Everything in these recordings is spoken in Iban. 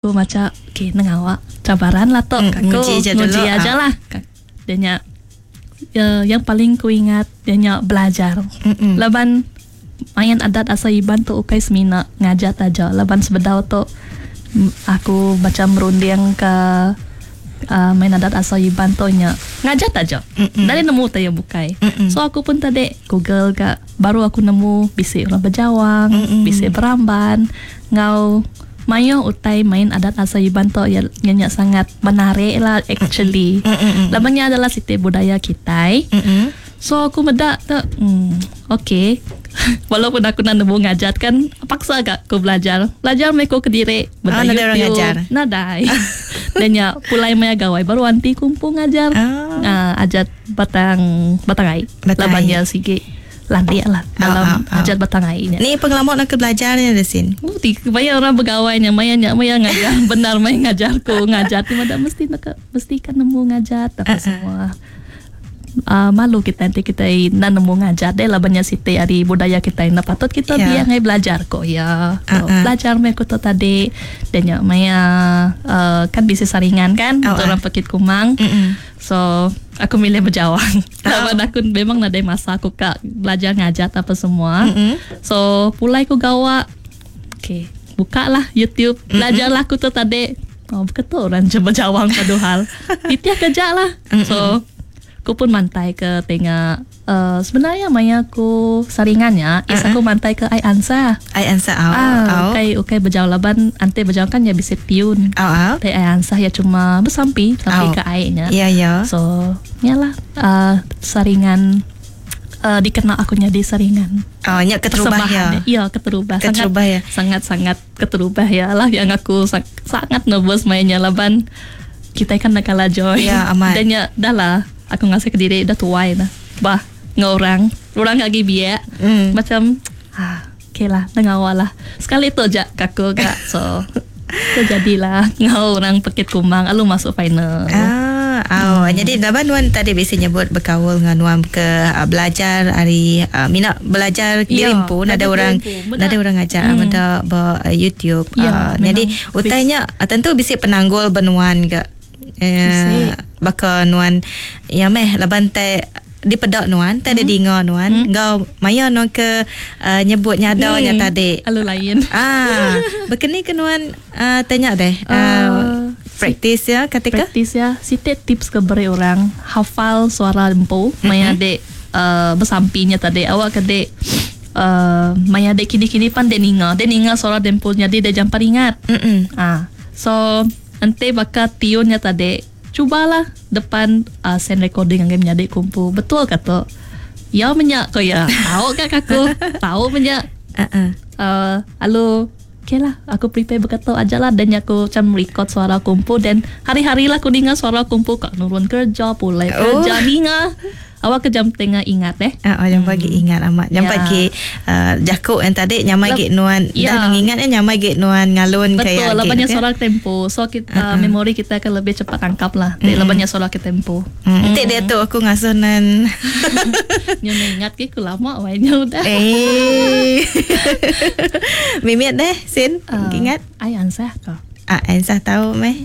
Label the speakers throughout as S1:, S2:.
S1: Aku macha okay nengah awak cabaran lah tu
S2: mm,
S1: aku
S2: nguji je
S1: nguji
S2: dulu,
S1: aja
S2: ah.
S1: lah. Dia nya yang paling ku ingat dia nya belajar.
S2: Mm-mm.
S1: Laban main adat asal Iban tu ukai semina ngajat aja laban sebedau tu aku macam merunding ke uh, main adat asal Iban tu nya ngajat aja. Dari nemu tai yang bukai. So aku pun tadi Google ga baru aku nemu bisi orang berjawang, bisi beramban, ngau mayuh utai main adat asal Iban tu ya nya sangat menarik lah actually. Laban nya adalah siti budaya kitai. So aku meda tu okay. Walaupun aku nak nemu ngajat kan paksa gak aku belajar. Belajar meh ku kediri
S2: Oh, nadai orang ngajar.
S1: Nadai. Dan nya pulai maya gawai baru anti kumpu ngajar.
S2: Ah.
S1: Ajat batang batang ai.
S2: Batang
S1: Laban
S2: ai.
S1: nya sigi landik lah dalam
S2: Oh.
S1: ajat batang ai nya.
S2: Ni pengelama nak ke belajar ni ada sin.
S1: Oh, ti maya orang begawai nya maya nya maya ngajar benar maya ngajar ku ngajar ti mada mesti nak mesti kan nemu ngajat apa semua. Malu kita nanti kita na nemu ngajat deh lah banyak siti ari budaya kita na patut kita biar ngai belajar kok ya. So, belajar meh aku tu tadi dan nya maya kan bisa saringan kan untuk orang pekit kumang. So aku milih berjawang. Laban aku memang nadai masa aku kak belajar ngajat apa semua. So pulai ku gawa. Okay, buka lah YouTube, belajarlah aku tu tadi. Oh, betul orang je berjawang padahal. Titiah kerja lah. So aku pun mantai ke tengah sebenarnya maya aku saringannya is aku mantai ke ai ansa.
S2: Ai ansa au.
S1: Ah,
S2: Au.
S1: ukai ukai berjauh laban ante berjauh kan ya bisa tiun.
S2: Au au.
S1: Tapi ai ansa ya cuma bersampi sampai
S2: Au.
S1: ke airnya.
S2: Ya ya.
S1: So, yalah saringan dikenal aku jadi saringan.
S2: Oh, nya keterubah ya.
S1: Persembahan. Iya, keterubah.
S2: Keterubah ya.
S1: Sangat sangat keterubah ya lah yang aku sangat nervous mainnya laban kita kan nak kalah joy.
S2: Ya, amat.
S1: Dan ya dah lah aku ngasih ke diri dah tuai dah. Bah, ngorang, orang lagi biak. Macam okay lah, tengah lah. Sekali tu je kaku kak. So, tu jadilah ngau orang pekit kumang alu masuk final.
S2: Ah, oh. Jadi laban nuan tadi bisa nyebut berkaul dengan nuan ke belajar hari minat belajar
S1: Ya,
S2: diri pun ada
S1: belajar
S2: orang
S1: diri pun.
S2: ada orang ajar benda ba YouTube.
S1: Ya, memang.
S2: Jadi utainya tentu bisa penanggul benuan ke.
S1: Bisi.
S2: Baka nuan ya meh laban te di pedak nuan te ada dinga nuan ngau maya nuan ke nyebut nyada nya tadi.
S1: Alu lain.
S2: Ah, berkeni ke nuan tanya deh. Praktis ya ketika
S1: Praktis ya. Siti tips ke beri orang hafal suara empu maya dek bersampinya tadi awak ke dek maya dek kini-kini pan dek ninga. Dek ninga suara dempu jadi dek jampa ingat. Ah, so ente bakal tiunnya tadi cubalah depan send recording yang menjadi kumpu. Betul kata. Ya menyak ko ya. Tahu kak aku. Tahu menyak. Alu okay lah aku prepare berkata aja lah dan aku macam record suara kumpu dan hari-hari lah aku dengar suara kumpu kak nurun kerja pulai kerja dengar awak ke jam tengah ingat eh.
S2: Ah, jam pagi ingat amat. Jam pagi jakuk yang tadi nyamai gik nuan. Dah ingat eh nyamai gik nuan ngalun
S1: Betul,
S2: kayak
S1: lah
S2: gik,
S1: banyak
S2: kan?
S1: suara tempo. So kita memori kita akan lebih cepat tangkap lah. Mm. Banyak suara ke tempo.
S2: Nanti dia tu aku ngasuh nan.
S1: Nyo ingat ke aku lama wainya udah.
S2: Eh. Mimit deh, Sin. Ingat?
S1: Ai ansah kau.
S2: Ah, ansah tahu meh.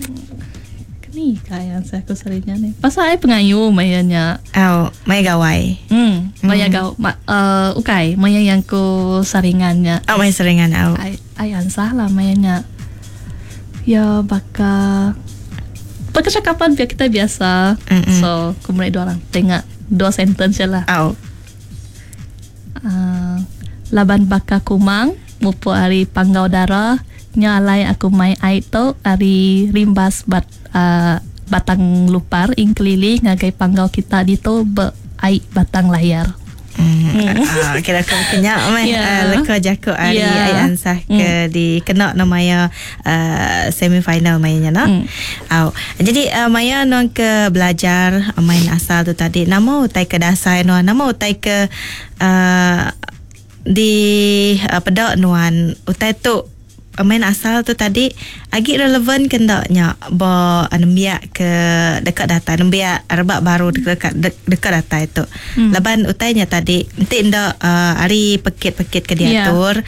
S1: Ni kaya ansah aku seringnya ni. Pasal ai pengayu mayanya.
S2: Oh, maya gawai.
S1: Maya gaw ma, ukai maya yang ku saringannya.
S2: Oh, maya saringan au.
S1: Ai ai ansah lah mayanya. Ya baka percakapan biar kita biasa. So, ku mulai dua orang tengok dua sentence je lah.
S2: Au.
S1: Laban baka kumang mupu ari panggau darah nya alai aku mai ai tu ari rimbas bat batang lupar ing keliling ngagai panggau kita ditu be ai batang layar.
S2: Kira aku kenyak meh leka jakuk ari ai ansah ke di kena nama ya semi final mainnya nak. Au. Jadi maya nuan ke belajar main asal tu tadi nama utai ke dasar nuan nama utai ke di pedak nuan utai tu Main asal tu tadi agi relevan ke ndak nya ba nembiak ke dekat datang, nembiak rebak baru dekat dekat datai tu? Laban utainya tadi enti ndak ari pekit-pekit ke diatur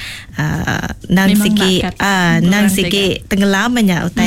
S2: nang
S1: Memang
S2: sigi
S1: nak
S2: nang
S1: kurang
S2: sigi tenggelam nya utai.